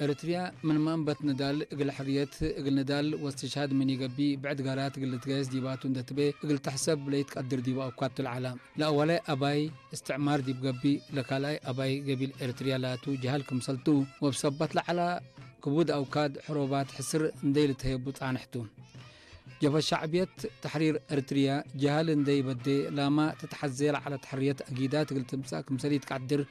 ኤርትርያ ምን ማእንበት ንዳል እግል ሕርየት እግል ንዳል ወስትሽሃድ ምን ይገቢ ብዕድ ጋራት እግል ልትገየስ ዲባቱ እንደትቤ እግል ተሕሰብ ለይትቀድር ዲባ እኳ ትልዓላ። ለአወላይ አባይ እስትዕማር ዲብ ገቢ ለካልኣይ አባይ ገቢል ኤርትርያ ላቱ ጀሃል ክምሰልቱ ወብሰባት ለዓላ ክቡድ አውካድ ሕሮባት ሕስር እንደይ ልትህየቡ ጻንሕቱ። ጀብሀት ሸዕብየት ተሕሪር ኤርትርያ ጀሃል እንደይ በዴ ላማ ትትሐዜ ለዓለት ሕርየት አጊዳት እግል ትምጻእ ክምሰል ይትቀድር።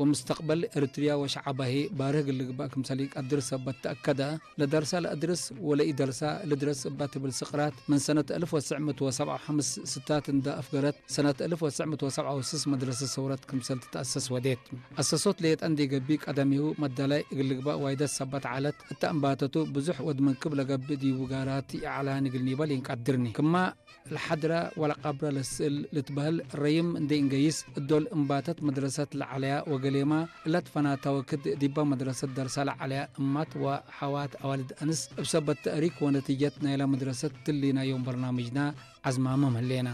ወምስተቅበል ኤርትርያ ወሸዓባሂ ባርህ እግል ልግባእ ክምሰል ይቀድር ሰበት ተአከደ። ለደርሳ ለአድርስ ወለኢደርሳ ልድረስ እባ ትብል ስቅራት ምን ሰነት አልፍ ወትስዕ ምእት ወሰብዓ ወሐምስ ስታት እንዳ አፍገረት ሰነት አልፍ ወትስዕ ምእት ወሰብዓ ወስስ መድረሰ ሰውረት ክምሰል ትትአሰስ ወዴት። አሰሶት ሌጠ እንዴ ገብእ ቀደሚሁ መዳላይ እግል ልግባእ ዋይደት ሰበት ዓለት። እተ እምባተቱ ብዙሕ ወድ መንክብ ለገብእ ዲቡ ጋራት ኢዓላን እግል ኒበል ኢንቀድርኒ። ክማ ለሐድራ ወለቀብራ ለስእል ልትበህል ረይም እንዴ እንገይስ እዶል እምባተት መድረሰት ለዓለያ ወገሌማ እለት ፈናታ ወክድ ዲባ መድረሰት ደርሳ ለዓለያ እማት ወሐዋት አዋልድ አንስ እብ ሰበት ተእሪክ ወነቲጀት ናይላ መድረሰት ትሊ ናይ ዮም በርናምጅና ዐዝማምም ህሌና።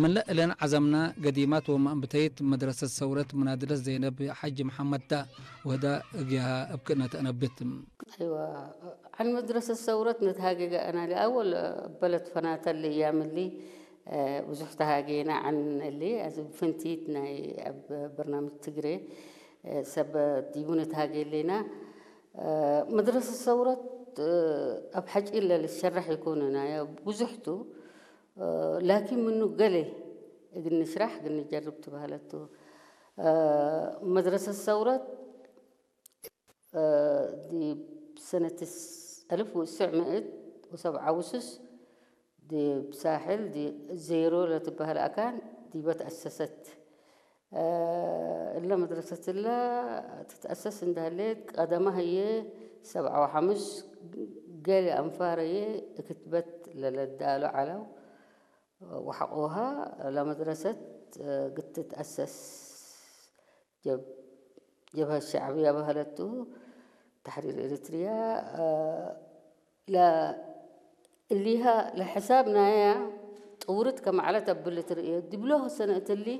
ምለ እለን ዐዘምና ገዲማት ወመአንብተይት መድረሰት ሰውረት ምናድለት ዘይነብ ሐጂ መሐመድ ታ ወህዳ እግያሃ እብ ክእነት አነብት። أيوة، عن مدرسة ثورة نتهاجج أنا لأول بلد فناتا اللي يعمل لي، آه، ብዙሕ ተሃጌና عن اللي أز فنتيت ناي أب برنامج تجري، آه، سب ديبون تهاجي لنا، آه، مدرسة ثورة، آه، أب حج إلا للشرح يكون أنا يا بزحتو، آه، لكن منه قلي قلنا نشرح قلنا نجرب تبهلتو. آه، مدرسة ثورة، آه، دي بسنة الس-، ألف وتسعمائة وسبعة وسس دي بساحل دي زيرو لتبهل أكان دي بتأسست. آه، إلا مدرسة إلا تتأسس عندها ليت قدمها هي سبعة وحمس قال أنفار هي كتبت للدالو علو وحقوها لمدرسة، آه، قد تتأسس جب-، جبهة الشعبية بهلتو تحرير إريتريا، آه، لا الليها لحسابنا يا طورت كما على تبلت رئيه دبلوه سنة اللي،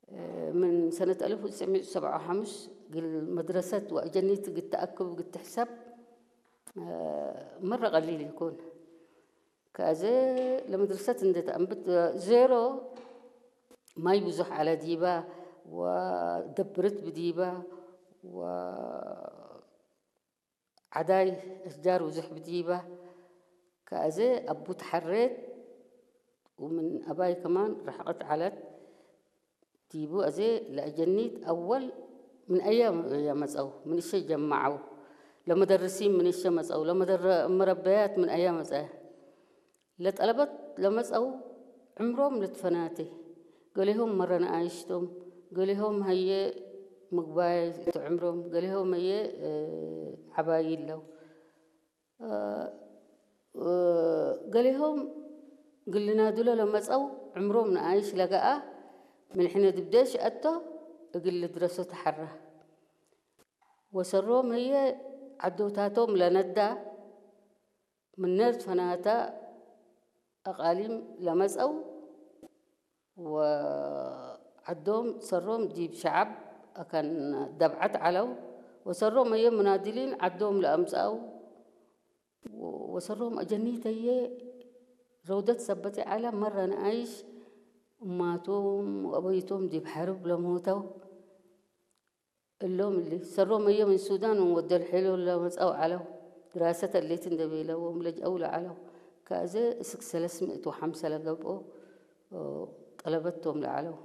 آه، من سنة ألف وتسعمائة وسبعة وخمسين قل مدرسة وأجنيت قد تأكب قد تحسب، آه، مرة قليل يكون كازي لمدرسة اندت أنبت زيرو ما يبزح على ديبا ودبرت بديبا و عداي أشجار وزح بديبا كازي أبو تحريت ومن أباي كمان رحقت علت ديبو أزي لأجنيت أول من أيام يمزأو من الشي جمعو لمدرسين من الشي مزأو لمدر مربيات من أيام مزأو ለጠለበት ለመጸው ዕምሮም ልትፈናቴ፣ ገሌሆም መረ ንኣይሽቶም፣ ገሌሆም ሀየ ምግባይ እቲ ዕምሮም፣ ገሌሆም ሀየ፣ እ፣ ዓባይ እለው። እ፣ እ፣ ገሌሆም ግልናዱለ ለመጸው ዕምሮም ንኣይሽ ለገኣ ምን ሕነ ድብደሽ አቶ እግል ልድረሶ ተሐራ። ወሰሮም ሀየ ዓዶታቶም ለነዳ ምነር ፈናታ አቃሊም ለመጸው ወዐዶም ሰሮም ዲብ ሸዐብ አካን ደብዐት ዐለው ወሰሮም ሀየ ሙናድሊን ዐዶም ለአምጸአው ወሰሮም አጀኒት ሀየ ረውደት ሰበት ዐለ መረ ነአይሽ እማቶም ወአበይቶም ዲብ ሐርብ ለሞተው እሎም እሊ ሰሮም ሀየ ምን ሱዳን ወደልሒሎ ለመጸው ዐለው። ድራሰት እሊት እንደ ቤለዎም ለጅአው ለዐለው። ከአዘ እስክ ሰለስ ምእት ወሐምሰ ለገብኦ ጠለበቶም ለዐለው።